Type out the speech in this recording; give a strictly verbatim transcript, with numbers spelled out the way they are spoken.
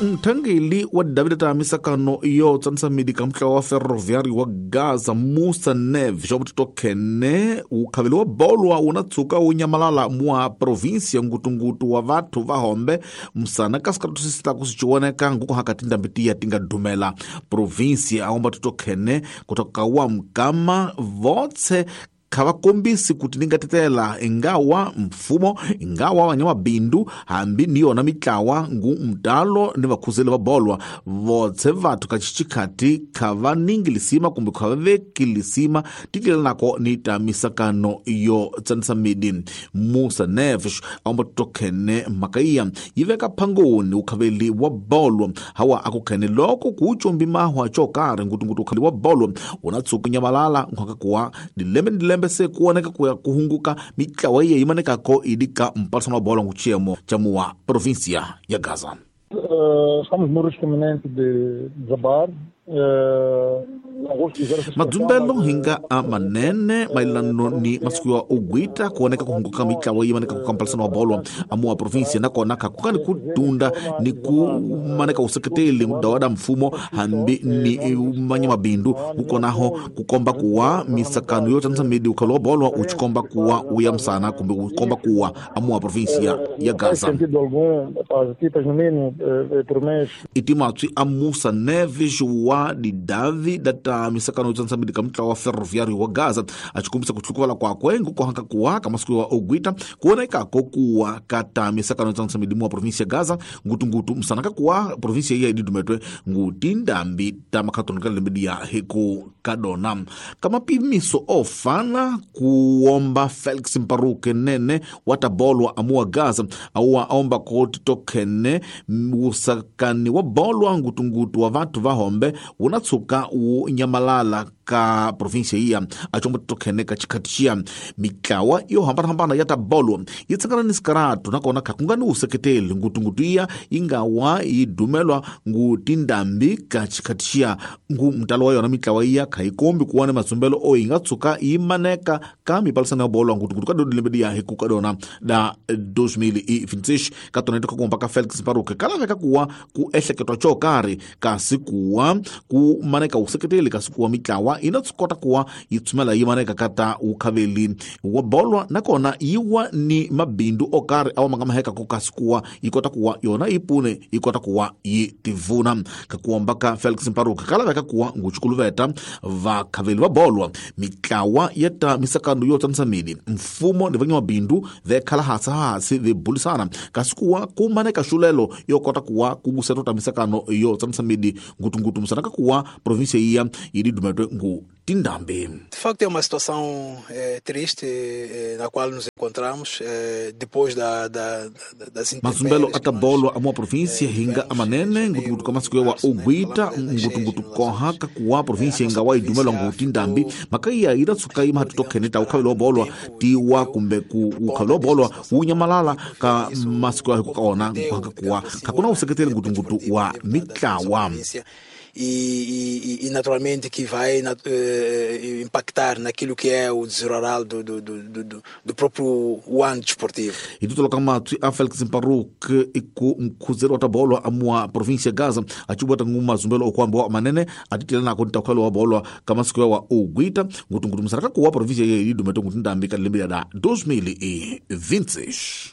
Mthangeli wa David ta misakano yo tsanisa midi ka mutlawa wa Ferroviário wa Gaza Musa Neves wa mutito khene ukhaveli wa bolwa una tsuka wu nyamalala mwa província ngutungutu wa vathu va hombe msana ka sikaratu sisita kusichiwoneka nguku hakati ndambi tiya tinga dumela província aomba tito khene kutoka wa mkama votse khavakombisi kuti ningatetela ingawa mfumo ingawa vanyamabindu hambi ni yona mitlawa ngu mtalo ni vakhuzeli va bolwa votse vathu ka xixikhati khavaningi lisima kumbe khavaveki lisima titlelanako ni ta misakano yo tsanisa midi. Musa Neves aomba tokhene mhaka iya yi veka phangoni ukhaveli wa bolwa hawa akukhene loko kucumbi mahwa xo karhi ngutungutu ukhaveli wa bolwa una tsuka nyamalala nkhwaka kuwa dilembe ni dilembe se kuoneka kuya kuhunguka mitlawa iya yimanekako idika mpalisano wa bola nguchiyemo cha muwa província ya Gaza. Uh, estamos no risco iminente de desabar. Uh, Madzumbelo hinga a manene mailano ni masiku ya ugwita kuoneka kuhunguka mitlawa yimaneka kukampalisano wa bolwa amuwa província nakona kakukani kutunda ni kumaneka useketeli mudawada mfumo hambi ni manya mabindu kukonaho kukomba kuwa misakano yo tsanisa midi ukhalo wa bolwa uchikomba kuwa uya msana kumbe ukomba kuwa amuwa província ya Gaza. Itimatswi a Musa Neves wa didavi data misakano tsanisa midi ka mutlawa wa Ferroviário wa Gaza achikumbisa kuhlukuvala kwakwe ngukohanka kuwa ka masiku wa ogwita kuonekako kuwa kata misakano tsanisa midi muwa província ya Gaza ngutungutu msanaka kuwa província iya ididumetwe ngutindambi ta makhatoneka lembe ya hiku kadona kamapimiso ofana kuomba Felix Mparuke nene watabolwa amuwa Gaza auwa aomba koti tokhene usakani wa bolwa ngutungutu wa vathu va hombe unatsuka wu nyamalala ka província iya achombo tokhene ka chikhati mitlawa yo hambanahambana ya tabolwa yi tsangana ni sikaratu nakona khakungani useketeli ngutungutu iya ingawa yi dumelwa ngutindambi ka chikhati ngu mtalo wa yona mitlawa iya khaikombi kuwa ni madzumbelo o yi nga tsuka yi maneka ka mipalisano ya bolwa ngutungutu ka dodilembe ya hiku kadona da dois mil e vinte e seis ka tona itoka ka Felix Mparuke kalaveka kuwa ku ehleketwa xo karhi kasi kuwa ku maneka useketeli kasi kuwa mitlawa ina tsukota kuwa yi tsumela yi maneka kata ukhaveli wa bolwa nakona yiwa ni mabindu o karhi awa ma nga mahekako kasi kuwa yi kota kuwa yona yi pune yi kota kuwa yi tivuna ka kuomba ka Felix Mparuke kalaveka kuwa nguchukuluveta vakhaveli va bolwa mitlawa ya ta misakano yo tsanisa midi mfumo ni vanyamabindu vekhala hasi hasi vibulisana kasi kuwa ku maneka xulelo yo kota kuwa ku busetwa ta misakano yo tsanisa midi ngutungutu msanaka kuwa província iya yi didumetwe ngu tindambi. De facto é uma situação eh, triste eh, na qual nos encontramos eh, depois da, da, das Mazumbelo atabolwa amua província hinga amanene ngutungutu kamasiku wa ogwita ngutungutu koha kakuwa província inga wa idumelwa ngutindambi makaiya ida tsuka ima hatutokheneta ukhaveli wa bolwa tiwa kumbe ku ukhaveli wa bolwa unyamalala ka masiku ya kukaona kakuwa kakuna useketeli ngutungutu wa mitlawa. E, e, e naturalmente que vai eh, impactar naquilo que é o desenrolar do, do, do, do, do próprio ano desportivo. E tudo local matwi a Felix Mparuke iku mkhuzelo wa tabolwa amua província Gaza achibwata nguma zumbelo okwamba wa manene atitela nako ntakhwalo wa bolwa kamasiku wa ogwita ngutungutu msaraka kuwa província ye idumeto ngutindambi ka lembe da dois mil e vinte e seis.